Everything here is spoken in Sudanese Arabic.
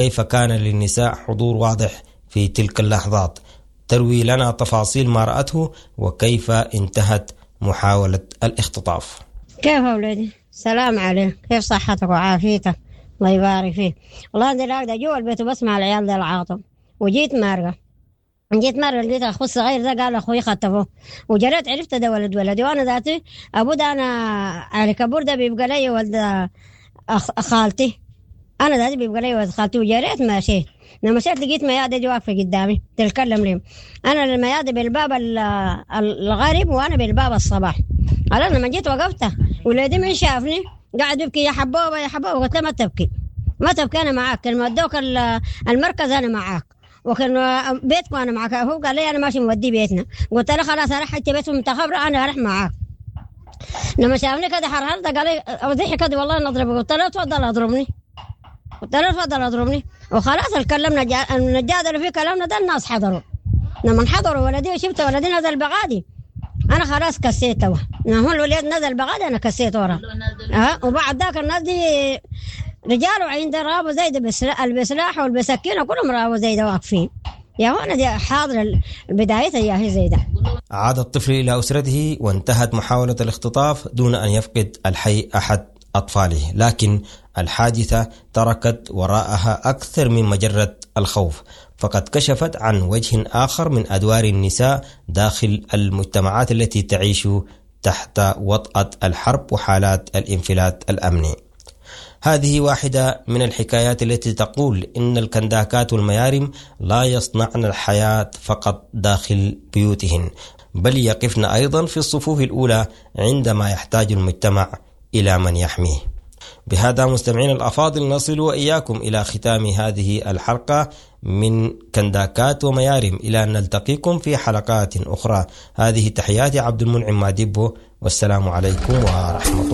كيف كان للنساء حضور واضح في تلك اللحظات. تروي لنا تفاصيل ما رأته وكيف انتهت محاولة الاختطاف. كيف أولادي؟ سلام عليك، كيف صحتك وعافيتك؟ الله يبارك فيك. والله أنا راقدة جوا البيت وبسمع العيال ده العاطم، وجيت مارقة. جيت مرة لقيت أخوي الصغير ده قال أخوي خطفوه، وجريت عرفت ده ولد ولدي، وأنا ذاتي أبو ده أنا علي كبور ده بيبقى لي ولد خالتي، أنا ذاتي بيبقى لي ولد خالتي. وجريت مشيت، لما مشيت لقيت ميادة دي واقفة قدامي تتكلم لي. أنا الميادة بالباب الغرب وأنا بالباب الصباح. أنا لما جيت وقفت ولادي من شافني قاعد يبكي يا حبوبة يا حبوبة. قلت له ما تبكي ما تبكي، أنا معاك، لما ادوك المركز أنا معاك، وكان بيتكم انا معك. هو قال لي انا ماشي مودي بيتنا، قلت له خلاص انا حتى بيتهم انت خبره انا اروح معاك. لما شافني كده حرحرت قال لي ضحك كده والله نضربك. قلت له تفضل اضربني، قلت له تفضل اضربني. وخلاص اتكلمنا نتجادل في كلامنا ده، الناس حضروا. لما حضروا ولدي وشفت ولدي نزل بغادي، انا خلاص كسيت. هو الولد نزل بغادي انا كسيت ورا. وبعد ذاك الناس دي رجال عند رابو زي ده البسلاح والبسكينه كلهم رابو زي ده واقفين. يا هون دي حاضر بدايتها يا هي زي ده. عاد الطفل إلى أسرته وانتهت محاولة الاختطاف دون أن يفقد الحي أحد أطفاله، لكن الحادثة تركت وراءها أكثر من مجرة الخوف، فقد كشفت عن وجه آخر من أدوار النساء داخل المجتمعات التي تعيش تحت وطأة الحرب وحالات الانفلات الأمني. هذه واحدة من الحكايات التي تقول إن الكنداكات والميارم لا يصنعن الحياة فقط داخل بيوتهن، بل يقفن أيضا في الصفوف الأولى عندما يحتاج المجتمع إلى من يحميه. بهذا مستمعين الأفاضل نصل وإياكم إلى ختام هذه الحلقة من كنداكات وميارم، إلى أن نلتقيكم في حلقات أخرى. هذه تحياتي عبد المنعم مادبو، والسلام عليكم ورحمة الله.